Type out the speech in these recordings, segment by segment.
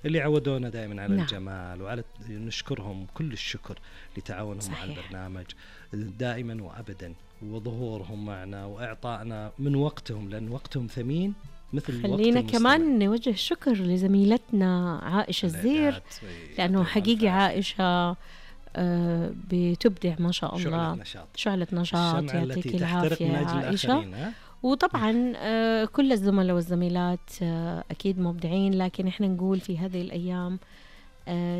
اللي عودونا دائما على نعم. الجمال، وعلى نشكرهم كل الشكر لتعاونهم مع صحيح. البرنامج دائما وأبدا، وظهورهم معنا وإعطائنا من وقتهم، لأن وقتهم ثمين مثل وقت خلينا المستمع. كمان نوجه شكر لزميلتنا عائشة الزير، الإعداد لأنه يعطيهم حقيقي العافية. عائشة بتبدع ما شاء شعلة الله، نشاط، شعلة نشاط. الشمعة التي يعطيك تحترق العافية من يا أجل عائشة. الآخرين. ها؟ وطبعا كل الزملاء والزميلات أكيد مبدعين، لكن إحنا نقول في هذه الأيام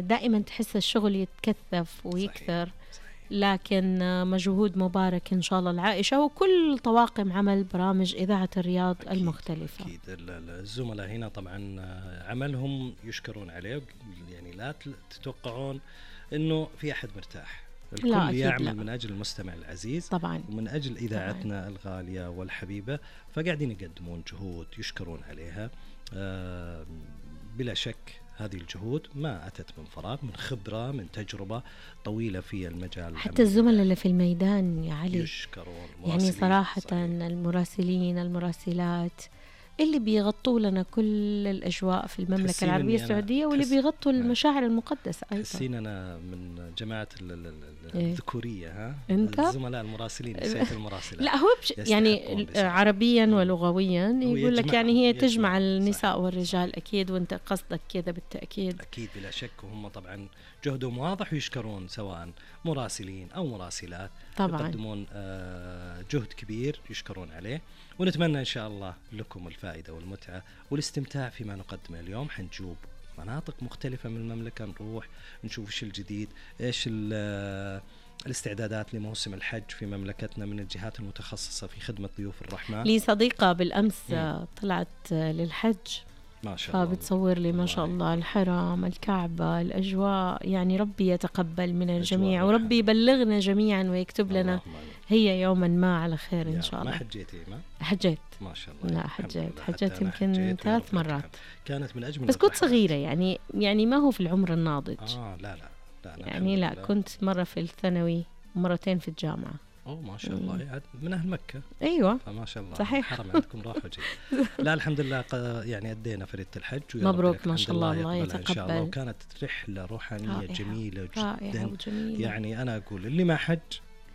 دائما تحس الشغل يتكثف ويكثر. صحيح. لكن مجهود مبارك إن شاء الله العائشة وكل طواقم عمل برامج إذاعة الرياض أكيد المختلفة. أكيد الزملاء هنا طبعا عملهم يشكرون عليه، يعني لا تتوقعون إنه في أحد مرتاح، لا، الكل أكيد يعمل لا. من أجل المستمع العزيز طبعا ومن أجل إذاعتنا الغالية والحبيبة، فقاعدين يقدمون جهود يشكرون عليها. بلا شك هذه الجهود ما أتت من فراغ، من خبرة، من تجربة طويلة في المجال. حتى الزملاء اللي في الميدان يا علي يشكرون، يعني صراحة صحيح. المراسلين المراسلات اللي بيغطوا لنا كل الأجواء في المملكة تحسين العربية إني أنا السعودية، واللي بيغطوا المشاعر المقدسة أيضا. تحسين أنا من جماعة إيه؟ الذكورية، ها؟ أنت؟ الزملاء المراسلين، نسيت المراسلات. لا هو يعني عربيا ولغويا يقول لك يعني هي تجمع النساء صحيح. والرجال. صحيح. أكيد وأنت قصدك كذا بالتأكيد. أكيد بلا شك، وهم طبعا جهدهم واضح ويشكرون، سواء مراسلين أو مراسلات طبعا يقدمون جهد كبير يشكرون عليه. ونتمنى إن شاء الله لكم الفائدة والمتعة والاستمتاع فيما نقدمه اليوم. حنجوب مناطق مختلفة من المملكة، نروح نشوف إيش الجديد، إيش الاستعدادات لموسم الحج في مملكتنا من الجهات المتخصصة في خدمة ضيوف الرحمن. لي صديقة بالأمس طلعت للحج، ما شاء الله، فبتصور لي ما شاء الله الحرم، الكعبة، الأجواء. يعني ربي يتقبل من الجميع، وربي يبلغنا جميعا ويكتب لنا هي يوما ما على خير إن شاء الله. ما حجيتي؟ ما حجيت ما شاء الله. لا حجيت يمكن 3 مرات، كانت من أجمل بس كنت صغيرة يعني ما هو في العمر الناضج. لا يعني لا، كنت مرة في الثانوي ومرتين في الجامعة. ما شاء الله، يعني من أهل مكة. أيوة ما شاء الله، صحيح. الحرم عندكم راح وجي. لا الحمد لله، يعني أدينا فريدة الحج، مبروك ما شاء الله، الله يتقبل إن شاء الله. وكانت رحلة روحانية رائعة. جميلة رائعة جدا وجميلة. يعني أنا أقول اللي ما حج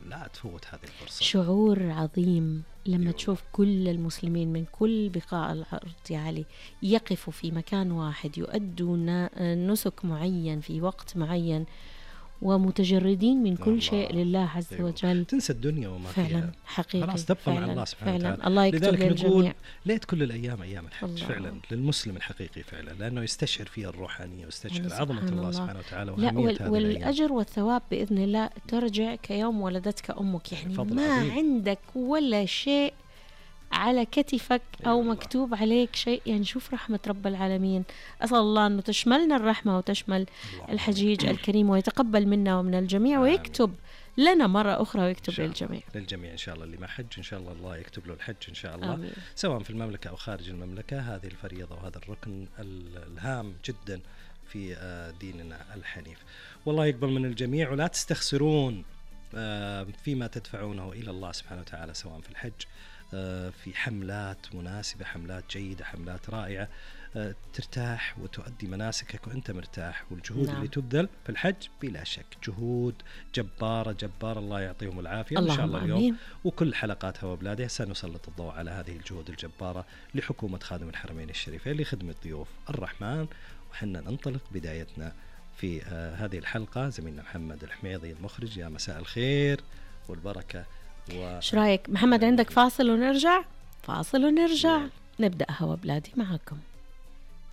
لا تفوت هذه الفرصة. شعور عظيم لما تشوف كل المسلمين من كل بقاع الأرض يا علي يقفوا في مكان واحد، يؤدوا نسك معين في وقت معين، ومتجردين من كل شيء لله عز وجل. تنسى الدنيا وما فعلا فيها، حقيقي خلاص تبقى مع الله سبحانه وتعالى. الله يكتب للجميع. ليت كل الأيام أيام الحج الله. فعلا للمسلم الحقيقي فعلا، لأنه يستشعر فيها الروحانية ويستشعر يعني عظمة الله سبحانه وتعالى وأهمية هذه والأجر والثواب بإذن الله ترجع كيوم ولدتك أمك. يعني ما عظيم. عندك ولا شيء على كتفك أو مكتوب عليك شيء. يعني شوف رحمة رب العالمين. أسأل الله أنه تشملنا الرحمة وتشمل الحجيج الكريم، ويتقبل منا ومن الجميع، ويكتب لنا مرة أخرى ويكتب للجميع إن شاء الله. اللي ما حج إن شاء الله يكتب له الحج إن شاء الله. آمين. سواء في المملكة أو خارج المملكة. هذه الفريضة وهذا الركن الهام جدا في ديننا الحنيف. والله يقبل من الجميع، ولا تستخسرون فيما تدفعونه إلى الله سبحانه وتعالى، سواء في الحج في حملات مناسبة، حملات جيدة، حملات رائعة، ترتاح وتؤدي مناسكك وأنت مرتاح. والجهود اللي تبذل في الحج بلا شك جهود جبارة جبارة، الله يعطيهم العافية إن شاء الله. اليوم وكل حلقات هوا بلاده سنسلط الضوء على هذه الجهود الجبارة لحكومة خادم الحرمين الشريفين لخدمة ضيوف الرحمن. وحنا ننطلق بدايتنا في هذه الحلقة زميلنا محمد الحميضي المخرج. يا مساء الخير والبركة. ايش رايك محمد؟ عندك فاصل ونرجع؟ فاصل ونرجع نبدأ هوا بلادي معكم.